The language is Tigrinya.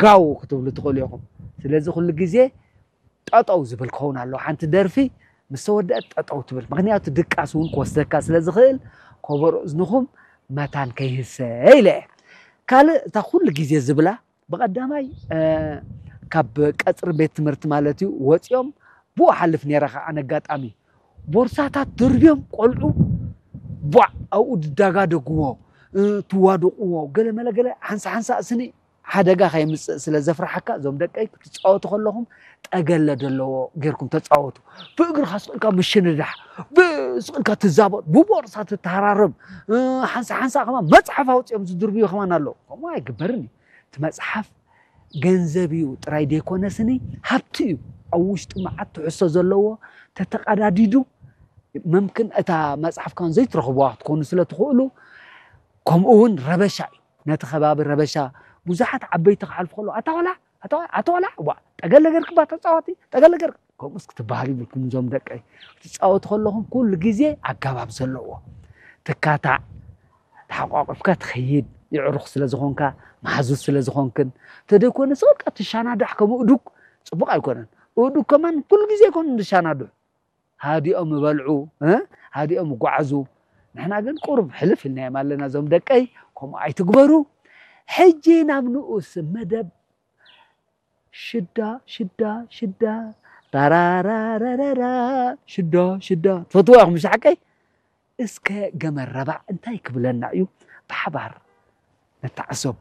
ጋው ክትብሉ ትኽእሉ ኢኹም። ስለዚ ኩሉ ግዜ ጠጠው ዝብል ክኸውን ኣለዎ። ሓንቲ ደርፊ ምስ ተወደአት ጠጠው ትብል፣ ምክንያቱ ድቃስ እውን ክወስደካ ስለ ዝኽእል ከበሮ እዝንኹም መታን ከይህሰ ኢለ እየ። ካልእ እታ ኩሉ ግዜ ዝብላ ብቐዳማይ ካብ ቀፅሪ ቤት ትምህርቲ ማለት እዩ ወፂኦም ብኡ ሓልፍ ነይረ። ከዓ ኣነ ኣጋጣሚ ቦርሳታት ደርብዮም ቆልዑ ቧዕ ኣብኡ ድዳጋደግዎ ትዋደቕዎ ገለ መለ ገለ ሓንሳ ሓንሳ ስኒ ሓደጋ ከየምፅእ ስለ ዘፍርሓካ እዞም ደቀይ ክትፃወቱ ከለኹም ጠገለ ዘለዎ ጌርኩም ተፃወቱ። ብእግርካ ስቕልካ ምሽንዳሕ፣ ብስቕልካ ትዛበጥ፣ ብቦርሳ ትተሃራረብ፣ ሓንሳ ሓንሳ ከማ መፅሓፍ ኣውፅኦም ዝድርብዩ ከማን ኣለዉ። ከምኡ ኣይግበርን እዩ። እቲ መፅሓፍ ገንዘብ እዩ ጥራይ ዘይኮነስኒ ሃብቲ እዩ። ኣብ ውሽጡ መዓት ትሕዝቶ ዘለዎ ተተቐዳዲዱ መምክን እታ መፅሓፍ ካን ዘይትረኽብዋ ክትኮኑ ስለ ትኽእሉ ከምኡ እውን ረበሻ እዩ። ነቲ ከባቢ ረበሻ ብዙሓት ዓበይቲ ክሓልፉ ከለዉ ኣታ ቆልዓ ኣታ ቆልዓ ዋ ጠገለ ገርክባ ተፃዋቲ ጠገለ ገርክ ከምኡስ ክትበሃል ይብልኩም እዞም ደቀይ ክትፃወቱ ከለኹም ኩሉ ግዜ ኣገባብ ዘለዎ ትካታዕ ተሓቋቂፍካ ትኸይድ የዕሩኽ ስለ ዝኾንካ መሓዙት ስለ ዝኾንክን ተደይኮነ ስቕልካ ትሻናዳሕ ከም እዱግ ፅቡቕ ኣይኮነን። እዱግ ከማን ኩሉ ግዜ ይኮኑ ዝሻናድሑ ሃዲኦም ይበልዑ ሃዲኦም ይጓዓዙ። ንሕና ግን ቁሩብ ሕልፍ ኢልናዮም ኣለና እዞም ደቀይ ከምኡ ኣይትግበሩ። ሕጂ ናብ ንኡስ መደብ ሽዳ ሽዳ ሽዳ ራራራራራ ሽዳ ሽዳ ትፈትዋ ኢኹም ምሽ ሓቀይ? እስከ ገመድ ረባዕ እንታይ ክብለና እዩ ብሓባር ነተዓዘቦ።